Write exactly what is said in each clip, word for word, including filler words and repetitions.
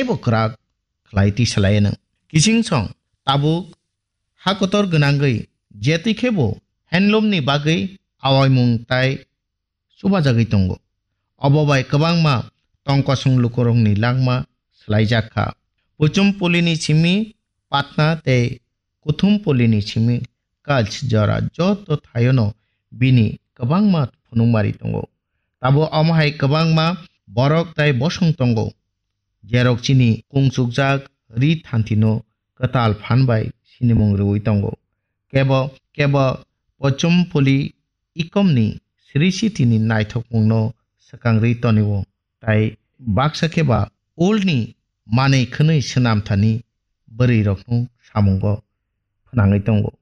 bo kwrak khlai tisalai nw. Kising song tabuk ha kotor gwnangwi je twi khe bo handloom ni bagwi awaimung tai chubajagwi tongo. Obo bai kwbangma tongkosong lukurokni langma swlaijak kha. Puchum pulini simi Patna tei kuthum pulini simi Kach jora joto thaiono bini kwbangma phunukmari tongo. Tabuk omo hai kwbangma borok tai bosong tongo, jerok chini kungchukjak ri thantino kwtal phan bai sinimung rwui tongo. Kebo kebo Pochum puli ikomni Sri Sitini naithokmungno swkangri tonio, tai baksa khe ba ulni manwi khwnwi swnamthani bwrwirokno samungo phnangwi tongo.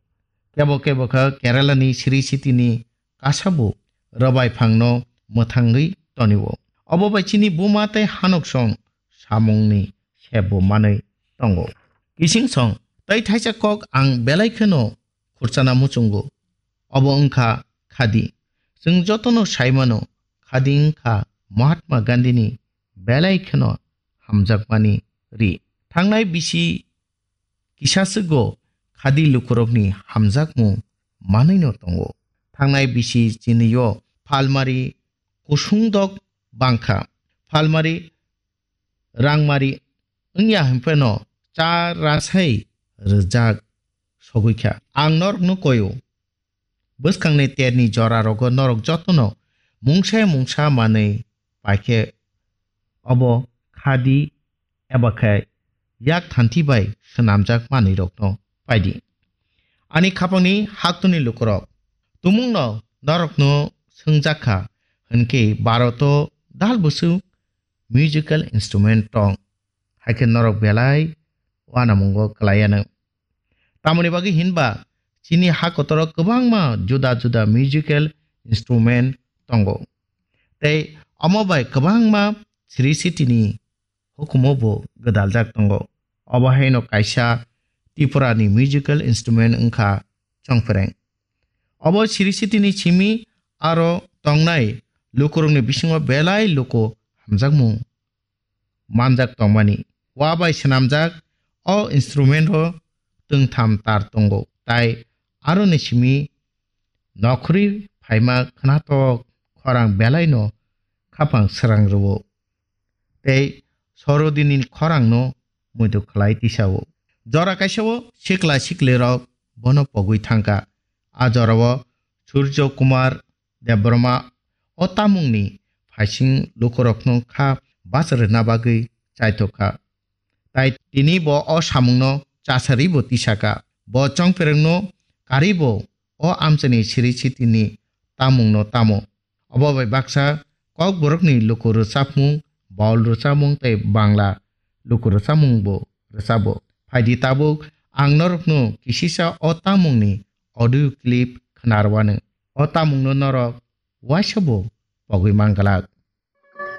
Kebo kebo kha Keralani Sri Sitini kasabu rwbai phangno mwthangwi tonio. Obo bai chini buma tei hanoksong samungni sebbo manwi tongo. Kising song tei thaisa kok ang belai kheno khurchana muchungo. Obo wngkha khadi. Chwng jotono saimano, khadi wngkha Mahatma Gandhini belai kheno hamjakmani ri. Thangnai bisi kisaswgo khadi lukurokni hamjakmung manwino tongo. Thangnai bisi chinio phalmari kusungdok bangkha. Phalmari rangmari wngya hwnpheno cha rasai rwjak sogwi kha. Ang norokno koio. Bwskangni terni jorarogo norok jotono mungsa mungsa manwi paikhe obo khadi eba khe yak thanthi bai swnamjak manwirokno paidi. Ani khapangni haktuni lukurok, tumungno norokno swngjak kha hwnkhe Bharoto dal bwswk musical instrument tong, hai khe norok belai uanamungo kwlaianw. Tamoni bagwi hinba chini ha kotoro kwbangma juda juda musical instrument tongo. Tei omo bai kwbangma Sri Sitini hukumo bo gwdaljak tongo. Obo haino kaisa Tripurani musical instrument wngkha chongphereng. Obo Sri Sitini simi aro tongnai lukurokni bisingo belai luku hamjakmung manjak tongmani. Wa bai swnamjak o instrument o twngtham tar tongo, tai aroni simi nokhorwi phaima khwnathok khorang belaino khapang srang rwo. Tei sorodini khorangno muitu khlai tisao. Jora kaisao sikla siklirok bono pogwi thangkha. A jorao Surjo Kumar Debbarma o tamungni phaising lukurokno kha bachar rwna bagwi chaithok kha. Tai tini bo o samungno chasaribo tisaka. Bo chongpherengno karibo o amchaini Sri Sitini tamungno tamo. Obo bai baksa Kokborokni luku rwchapmung, Baul rwchapmung tei Bangla luku rwchapmungbo rwchabo. Phaidi tabuk ang norokno kisisa o tamungni audio clip khwnarwano. O tamungno norok waisa bo pogwi man glak.